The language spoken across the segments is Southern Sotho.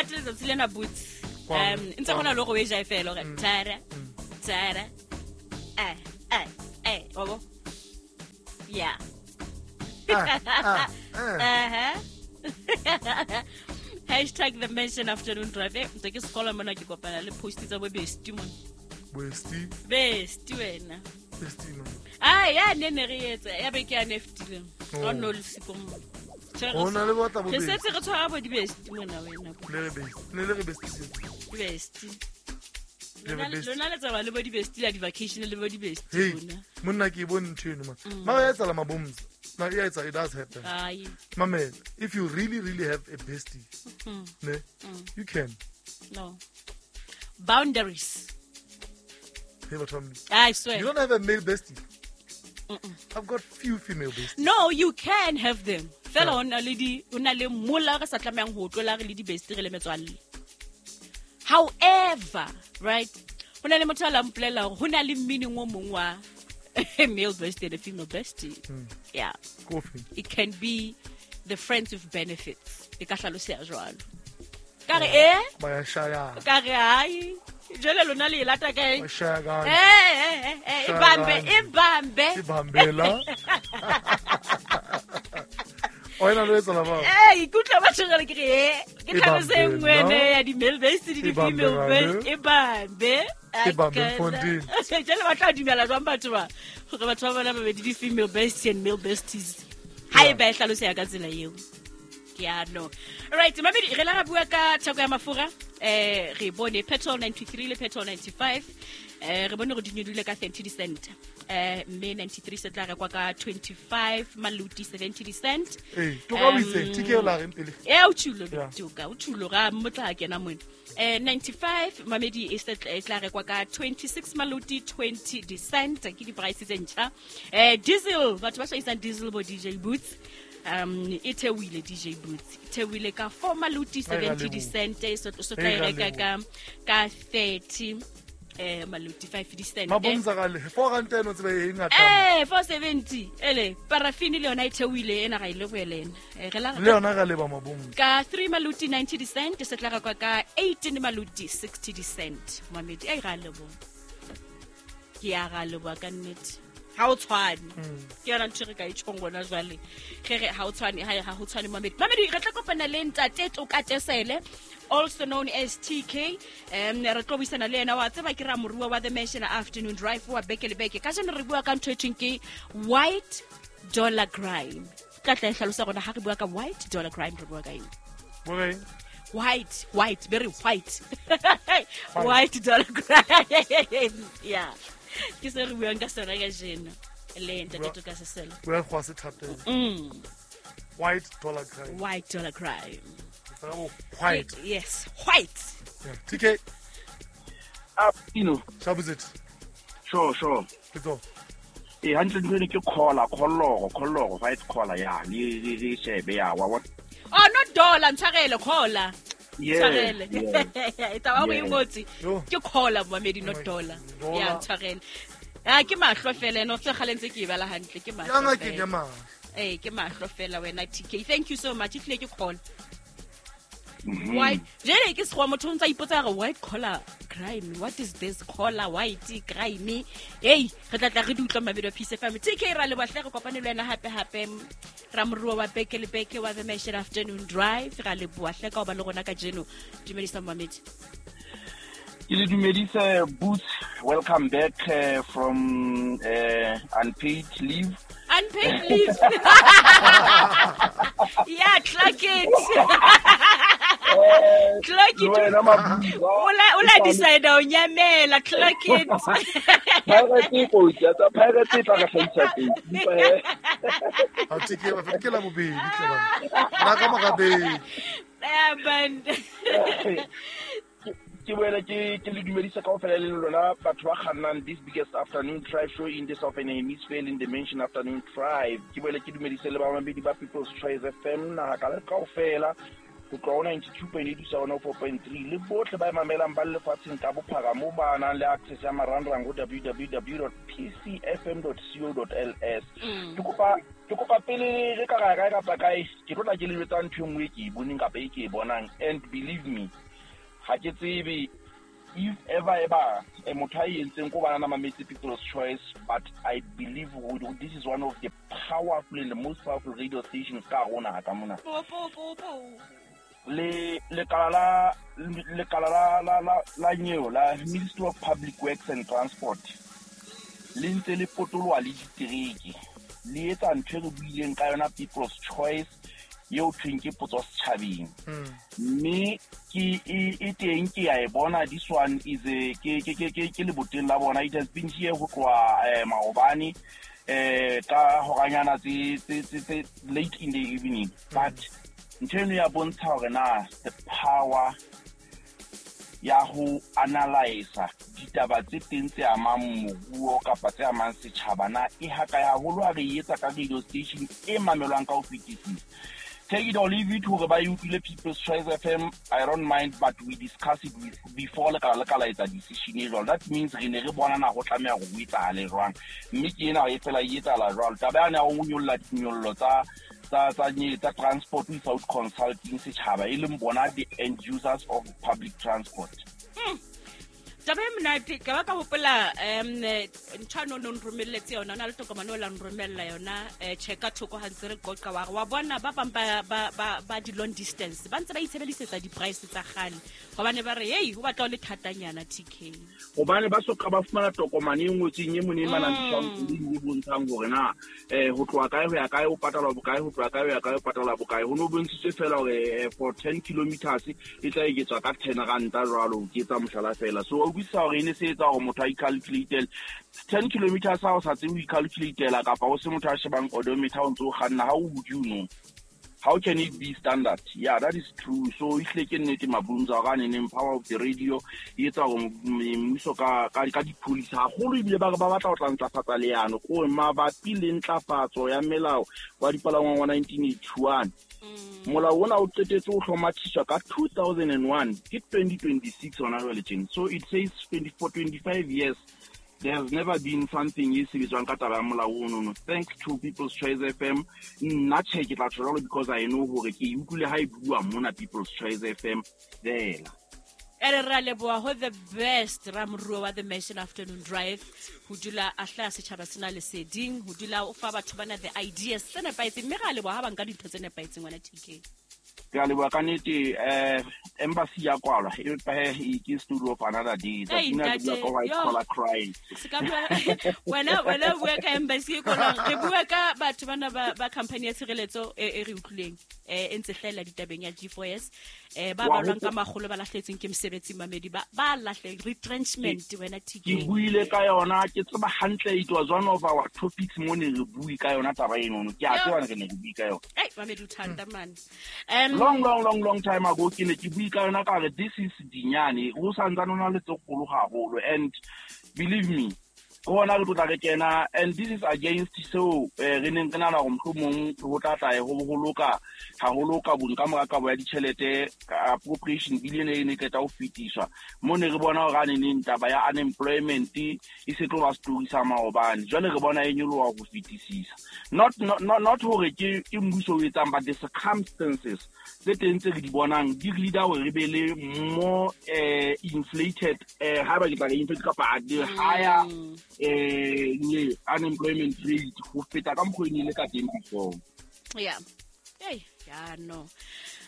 Monate letsatsi lena, Boots. Ntse go na le go e ja fela gore tara tara eh eh eh wa bo, yeah. Ah, ah, eh. Uh-huh. #TheMansionAfternoonDrive. Ntse ke scrolla mona, ke kopana le post tsa bo bestie mona. Bestie. Bestie wena. Bestie no. Ai, ya ne re etsa ya be ke ya ne fetileng. Oh. Ga no le siko mo. Ho na le batla bo Re bestie. setse re tshwara bo di-bestie mona wena. Le re bestie. Ne le re bestie. Bestie. Le re bestie. Lona le tsamaya le bo di-bestie la di-vacation le bo di-bestie Hey, lona. monna, ke e bone ntho eno man. Mara ya etsahala, mabomza. Na e a etsa, it does happen. Ai. Mamela, if you really really have a bestie, ne, you can. No. Boundaries. Hey, batho ba Modimo. I swear. You don't have a male bestie? I've got few female besties. No, you can have them. Fela o na le di o na le mola re sa tlamehang ho tlola re le di-bestie, re le metswalle. However, right? Ho na le motho a la mpolela hore ho na le meaning o mong wa a male bestie and a female bestie. Yeah. Kofi. It can be the friends with benefits. E ka hlaloseha jwalo. Ka re eh? Ba ya shaya. Ka re hai. Jwale lona le e lata kae? Ba shaya ka. Eh, eh, eh, e bambe, e bambe. E bambela. O ena le etsa la ba. Eh, ikutlwa batho jwale ke re eh, ke E tlhaloso e bambe, nngwe ene no? ya di-male bestie le E di-female bambe, bestie. E bambe. E bambe, Ai, kana. mfondini. Jwale ba tla dumela jwang batho ba hore batho ba bona babedi di-female bestie and male besties ha e ba e hlaloseha ka tsela eo? Ke a no. Alright, mamedi, re la ra bua ka theko ya mafura. Re bone petrol 93 le petrol 95. Re bone gore di nyolohile ka 30 cent. Mme 93 se tla rekwa ka 25 maluti 70 cent. Eh, toka o itse, TK o la reng pele? E o tšhulo. Toka o tšhulo ga motla kena mone. 95, mamedi, e se e tla rekwa ka 26 maluti 20 cent, ke di-price tse ntšha. Diesel, batho ba hlahisang diesel, bo DJ Boots, e theohile. DJ Boots, e theohile ka 4 maluti Ai, ra 70 leboha. cent, e so tla Ai, e ra reka leboha. ka 30 maluti 5 cent. Mabomza ka le 4 rand eno tsebe e ngata. 470 ele parafini le yona e theohile ena, ga ile boelena. Re la Le yona ra leba, mabomza. Ka 3 maluti 90 cent se tla rekwa ka 18 maluti 60 cent. Mamedi, ai, ga leboha, ke a ga leboha ka nnete. Ha o tshwane, ke yona ntho e re ka e tjhong gona jwale ge re ha o tshwane, ha ho tshwane, mamedi. Mamedi, re tla kopana le ntate Toka Tesele, also known as TK. Re tlo buisana le yena, wa tseba ke ramorua wa The Mansion Afternoon Drive wa beke le beke. Kajeno re bua ka ntho e thweng ke white dollar crime. Tla tla e hlalosa gona ha re bua ka white dollar crime re bua ka eng. Bo reng? White, white, very white, white dollar crime, yeah, ke se re buang ka sona ka jeno le ntate Toka Sesele. Bua go se thapelo. White dollar crime. White dollar crime. Tsela bo white. Yes, white. Yeah. TK, Ah, Pino. shabuzit. Sure. Ke tso. Eh, hantle ntho ene ke collar, collar, collar, white collar, ya, le shebe ya, wa bona. Oh, not dollar, ntshwarele, collar. Ntshwarele. Yes. E taba go e ngotse. Yo. Ke collar, momedi, not dollar. Dollar. Ya, ntshwarele. Ah, ke mahlo fela ene o tse kgale ntse ke e bala hantle, ke Ya mahlo ngakeng ya fela. mahlo. Eh, ke mahlo fela wena, TK. Thank you so much. Ehlile ke collar. White jele ke sekgowa, motho o ntse a ipotsa gore white collar crime, what is this collar white crime? Ei, re tla tla re di utlwa, mabedi wa Peace FM. TK, ra leboha hle, re kopane le wena hape hape, ramorua wa beke le beke wa The Mansion Afternoon Drive. Ra leboha hle ka ho ba le rona kajeno. Dumedisa momamedi. Ke le dumedise, Boots. Welcome back from unpaid leave. Unpaid leave, yeah. Clock it, clock Le it. wena, Mabuza. O la decide o nyamela, clock it. Pirate e kotsi, ya tsa Pirate e tla re hlahisa teng. Empa, Ha TK ba ke la bobedi tle bana. La ka magabedi. Yeah, man. Ke boele ke le dumedisa kaofela le lona batho ba kgannang this biggest afternoon drive show in the southern hemisphere, in the Mansion Afternoon Drive. Ke boele ke dumedise le bamamedi ba People's Choice FM naha ka le kaofela, ho tloha ho 92.8 ho isa ho 4.3, le bohle ba e mamelang ba le lefatsheng ka bophara moo ba nang le access ya marangrang ho www pcfm co ls. Ke kopa Ke kopa pele re ka ra kae kapa kae, ke tlo tla ke le jwetsa ntho e nngwe e ke e boneng kapa e ke e bonang. And believe me, ga ke tsebe if ever eba motho a e entseng ko bana mametse People's Choice, but I believe this is one of the powerful and the most powerful radio stations ka hare ho naha ka mona. Po, po, po, po. Le lekala la nyeo la Ministry of Public Works and Transport le ntse le potoloha le ditereke, le etsa ntho e re buileng ka yona People's Choice eo thweng ke potso setjhabeng. Mme ke e teng ke ya e bona, this one is a ke leboteng la bona. It has been here ho tloha maobane ka horanyana tse late in the evening, but ntho eno ya bontsha hore na the power ya ho analysa ditaba tse teng tse amang moruo kapa tse amang setjhaba na e hakae haholo ha re e etsa ka radio station e mamelwang ka ho fetisisa. Take it or leave it hore ba e utlwile People's Choice FM, I don't mind, but we discuss it with before lekala le ka la etsa decision e jwalo. That means re ne re bona na ho tlameha hore ho etsahale jwang, mme ke ena e fela e etsahala jwalo. Taba yane ya ho nyolla dinyollo tsa transport without consulting setjhaba, e leng bona the end users of public transport. Taba e monate, ka ba ka hopola ntho ano no nromelletse yona, o na le tokomane o la nromella yona, check-a thoko ha ntse re qoqa wa re wa bona ba bang ba di-long distance ba ntse ba itshebedisetsa di-price tsa kgale, hobane ba re hey ho batla ho le thatanyana TK, hobane ba soka ba fumana tokomane e ngotsweng e mone e manang e bontshang hore na ho tloha kae ho ya kae o patalwa bokae, ho tloha kae ho ya kae o patalwa bokae. Ho no bontshitswe fela hore for 10 kilometers e tla eketswa ka 10 ranta jwalo, ke etsa mohlala fela. So o utlwisisa hore e ne se etsa hore motho a icalculate 10 kilometers ha o sa tsebe ho icalculatela, kapa o se motho a shebang odometer o ntse o kganna, how would you know? How can it be standard? Yeah, that is true. So ehlile ke nnete Mabunza hore a neneng power of the radio e etsa hore mmuso ka di-policy haholo, ebile ba re ba batla ho tla ntlafatsa leano ko mabapi le ntlafatso ya melao wa dipalangwang wa 1981. Molao ona o qetetse ho hlomathiswa ka 2001, ke 2026 hona jwale tjena. So it says 24, 25 years there has never been something e sebetswang ka taba ya molao ono. Thanks to People's Choice FM, nna tjhe ke tla tjho jwalo because I know hore ke e utlwile ha e bua mona People's Choice FM fela. Ere ra leboha ho the best ramoruo wa The Mansion Afternoon Drive, ho dula a hlaha setjhaba sena leseding, ho dula o fa batho bana the ideas tse nepahetseng, mme ra leboha ha ba nka dintho tse nepahetseng wena TK. Ke a leboha ka nnete, embassy ya kwalwa, empa he ke studio of another day. Hey, Tsatsi lena ke bua ka white yo. collar crime. Se ka bua, wena bua ka embassy e kwalwang. Re bua ka batho bana ba company ya tshireletso e re utlwileng, e ntse hlahella ditabeng ya G4S, ba Wa balwang ka hopo- makgolo ba lahlehetsweng ke mosebetsi mamedi, ba lahle retrenchment wena TK. Ke buile ka yona, ke tseba hantle, it was one of our topics mo ne re bue ka yona taba eno. Ke a Yo. tseba re ne re bue ka yona. Ei, mamedi o thata man. Long, long, long, long time ago ke ne ke bue ka yona ka re this is dinyane, ho santsane ho na le tse kgolo haholo, and believe me, ke hona re tlo tla re kena, and this is against seo re neng re nahana hore mohlomong ho tla tla ho loka haholo ka bong ka mora kabo ya ditjhelete, appropriation bill ena e ne qeta ho fetiswa, mo ne re bona hore a neneng taba ya unemployment e se tlo ba story sa maobane, jwale re bona e nyoloha ho fetisisa. Not hore ke mmuso o etsang, but the circumstances tse teng tse re di bonang di re leader hore re be le more inflated, haeba ke tla re inflated kapa the higher unemployment rate ho feta ka mokgwa e ne e le ka teng before. Yeah. Hey, yeah, no.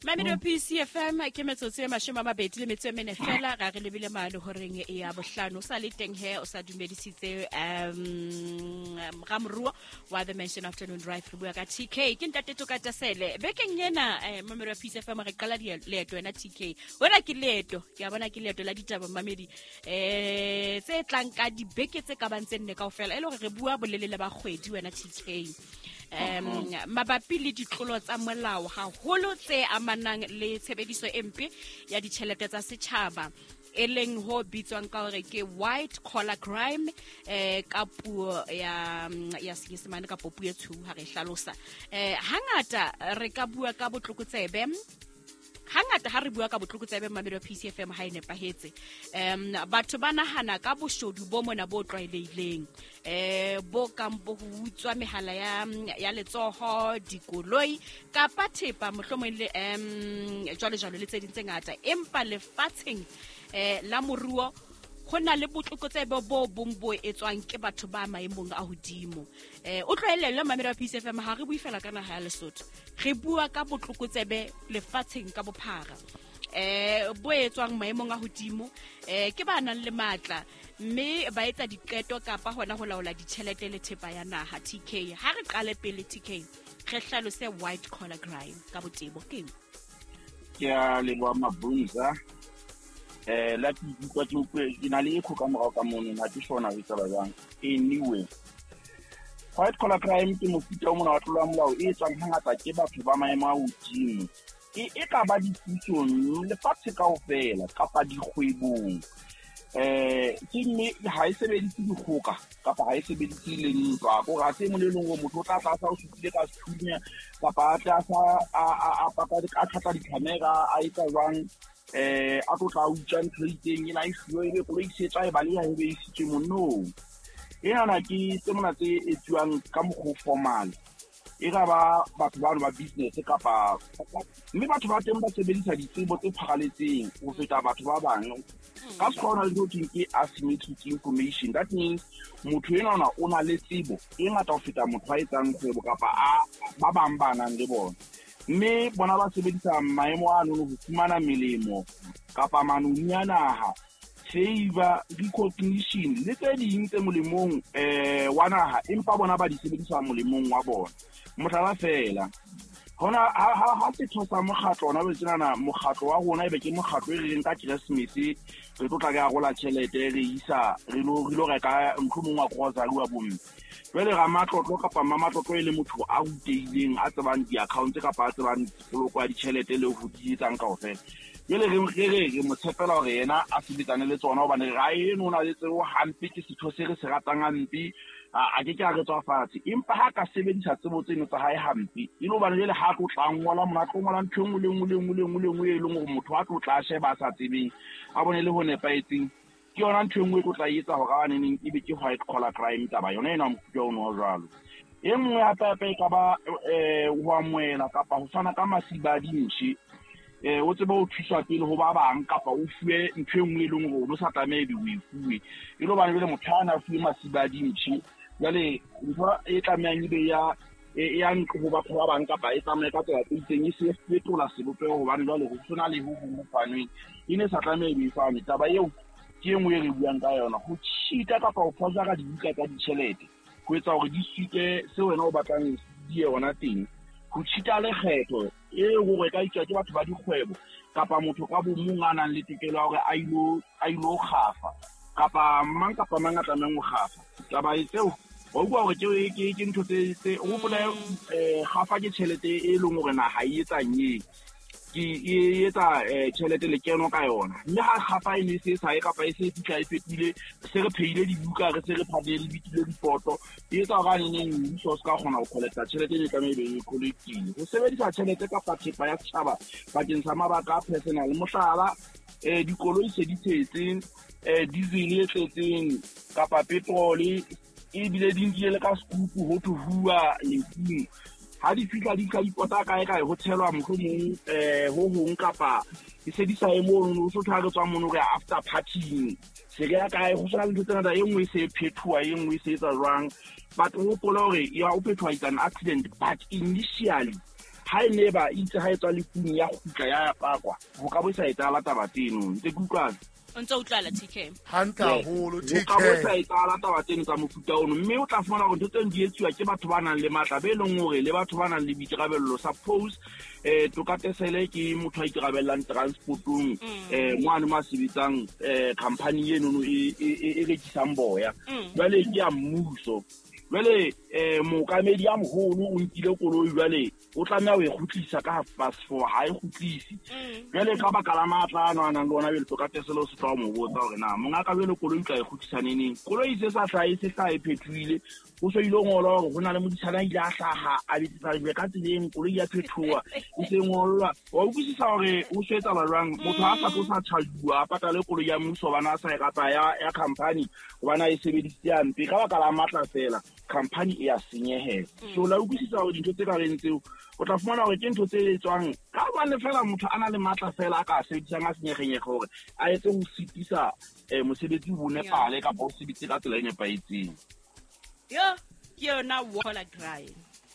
Mamedi wa PCFM ke metsotso e 24 fela, ra re lebile mane horeng ya bohlano. O sa le teng he, o sa dumedisitse ramoruo wa The Mansion Afternoon Drive, re bua ka TK. Ke ntate Toka Tasele. Bekeng ena mamedi wa PCFM re qala leeto wena TK. Wena ke leeto, ke a bona ke leeto la ditaba mamedi. Tse tlang ka dibeke tse ka bang tse nne kaofela, e le hore re bua bolelele ba kgwedi wena TK. Mabapi le ditlolo tsa molao haholo tse amanang le tshebediso e mpe ya ditjhelete tsa setjhaba, e leng ho bitswang ka hore ke white collar crime, ka puo ya Senyesemane kapa puo e tshweu ha re hlalosa. Hangata re ka bua ka botlokotsebe, hangata Hangata ha re bua ka botlokotsebe mmamedi wa PCFM ha e nepahetse, batho ba nahana ka boshodu bo mona bo tlwaelehileng, bo kang bo ho utswa mehala ya letsoho, dikoloi kapa thepa mohlomong le jwalo jwalo le tse ding tse ngata. Empa lefatsheng la moruo ho na le botlokotsebe bo bong bo etswang ke batho ba maemong a hodimo. O tlohellele mmamedi wa PCFM, ha re bue fela ka naha ya Lesotho, re bua ka botlokotsebe lefatsheng ka bophara, bo etswang maemong a hodimo, ke ba nang le matla mme ba etsa diqeto kapa hona ho laola ditjhelete le thepa ya naha. TK, ha re qale pele, TK, re hlalose white collar crime ka botebo keng? Ke a leboha, Mabunza. La ke ikutlwa ke utlwe ke na le echo ka morao ka mono, ha ke sure na ho etsahala jwang. Anyway, white collar crime ke mofuta o mona wa tlolo ya molao e etswang hangata ke batho ba maemo a hodimo, e ka ba dipusong lefatshe kaofela kapa dikgwebong. Ke mme ha e sebedise dikgoka kapa ha e sebedise le ntwa, kore ha se e mong le leng hore motho o tla tla a sa o supile ka sethunya kapa a tla sa a pata a tlhatla di-camera a etsa jwang, a tlo tla utswa ntho e itseng ena e fuwe, ebe koloi se tswa e baleha, ebe e isitswe mo. No, enana ke tse mona tse etsuwang ka mokgwa o formal, e ka ba batho bano ba business kapa mme batho ba teng ba sebedisa ditsebo tse pharaletseng ho feta batho ba bang. Ka sekgowa ho na le ntho thweng ke asymmetric information. That means motho enwana o na le tsebo e ngata ho feta motho a etsang kgwebo kapa a ba bang ba nang le bona, mme bona ba sebedisa maemo ano ho fumana melemo kapa manoni a naha, favor, recognition le tse ding tse molemong wa naha, empa bona ba di sebedisa molemong wa bona. Mohlala fela, hona ha setho sa mokgatlo ona bo tsenana, mokgatlo wa rona ebe ke mokgatlo e re reng ka Keresemese re tlo tla re arola tjhelete, re isa re lo reka mohlomong wa grocery wa bomme. Jwale ramatlotlo kapa mmamatlotlo e le motho a rutehileng, a tsebang di-accounts kapa a tsebang poloko ya ditjhelete le ho di etsang kaofela. Jwale re mo tshepela hore yena a sebetsane le tsona, hobane ra eno o na le tsebo hampe, ke setho se re se ratang hampe, a ke ke a re tswa fatshe. Empa ha ka sebedisa tsebo tseno tsa hae hampe, e le hobane jwale ha tlo tla ngola mona, a tlo ngola ntho e nngwe le nngwe le nngwe le nngwe le nngwe e leng hore motho a tlo tla sheba a sa tsebeng, a bone le ho nepahetseng. Ke yona ntho e nngwe e tlo tla etsa hore a neneng ebe ke white collar crime taba yona ena, mofuta ono wa jwalo. E nngwe hape hape e ka ba ho amohela kapa ho fana ka masiba a dintšhe, o tsebe ho thuswa pele ho ba bang kapa o fuwe ntho e nngwe e leng hore o no sa tlameha ebe o e fuwe, e le hobane jwale motho a na fuwe masiba a dintšhe. Jwale ntho e tlamehang ebe ya ntlo ho batho ba bang kapa e tsamaye ka tsela tse itseng, e se fetola sebopeho hobane jwale ho sena le ho hong ho fanweng e ne sa tlameha ebe e fanwe. Taba eo ke e nngwe e re buang ka yona, ho cheat-a kapa ho forgera dibuka tsa ditjhelete ho etsa hore di suite se wena o batlang di ye hona teng, ho cheat-a lekgetho e hore ka itswa ke batho ba dikgwebo kapa motho ka bo mong a nang le tokelo ya hore a ilo kgafa kapa mang a tlamehang ho kgafa. Taba e tseo wa utlwa hore ke ntho tse o hopole, kgafa ke tjhelete e leng hore naha e etsang ke e etsa tjhelete lekeno ka yona, mme ha kgafa e ne e se e sa ye kapa e se e fihla e fetohile, se re phehile dibuka, re se re phadile, re bitile dipoto, e etsa hore a neneng mmuso o se ka kgona ho collecta tjhelete e ne tlameha e be e collectile. Ho sebedisa tjhelete kapa thepa ya setjhaba bakeng sa mabaka a personal, mohlala, dikoloi se di tshetse diesel e tletseng kapa petrol, ebile di nkile le ka sekupu ho thwe huwa lefung, ha di fihla di fihla di pota kae kae, ho tshelwa mohlomong ho hong kapa e se di sa ye mono, o so thwe ha re tswa mono re ya after partying, se re ya kae, ho sena le ntho tse ngata, e nngwe e se e phethoha, e nngwe e se etsa jwang. But o hopole hore ya o phethoha is an accident, but initially ha e ne ba itse ha e tswa lefung ya kgutla ya pakwa, ho ka bo sa etsahala taba tseno. Ntse ke utlwana? O ntse o utlwala, TK. Hantle haholo. Ho ka bo sa TK. Etsahala taba tseno tsa mofuta ono, mme o tla fumana hore ntho tseno di etsuwa ke batho ba nang le matla, be leng hore le batho ba nang le boikarabello. Suppose Tokatesele ke motho a ikarabellang transportong, moane mo a sebetsang, company enono e rekisang boya, jwale ke ya mmuso. Jwale mookamedi a moholo o nkile koloi jwale. O tlameha ho e kgutlisa ka 4:30, ha e kgutlise. Jwale ka baka la matla ano a nang le ona, jwale tlo ka tesele o se tla o mo botsa hore na mongaka jwale koloi o tla e kgutlisa neneng. Koloi se sa hlahe, se hlahe phethohile, ho so ile ngolwa hore ho na le modisana a ile a hlaha a betsetsa lejwe ka tseleng, koloi ya phethoha e se ngollwa. Wa utlwisisa hore ho so etsahala jwang? Motho ha sa tlo sa charge-uwa, a patale koloi ya mmuso hobane a sa e rata ya company, hobane a e sebedisitse hampe. Ka baka la matla fela, company e ya senyehela. So la utlwisisa hore dintho tse ka reng tseo o tla fumana hore ke ntho tse etswang ka hobane fela motho a na le matla fela a ka sebedisang a senyegenyege hore a etse ho sitisa mosebetsi o nepale kapa o sebetse ka tsela e nepahetseng. Yo, ke yona waller grind.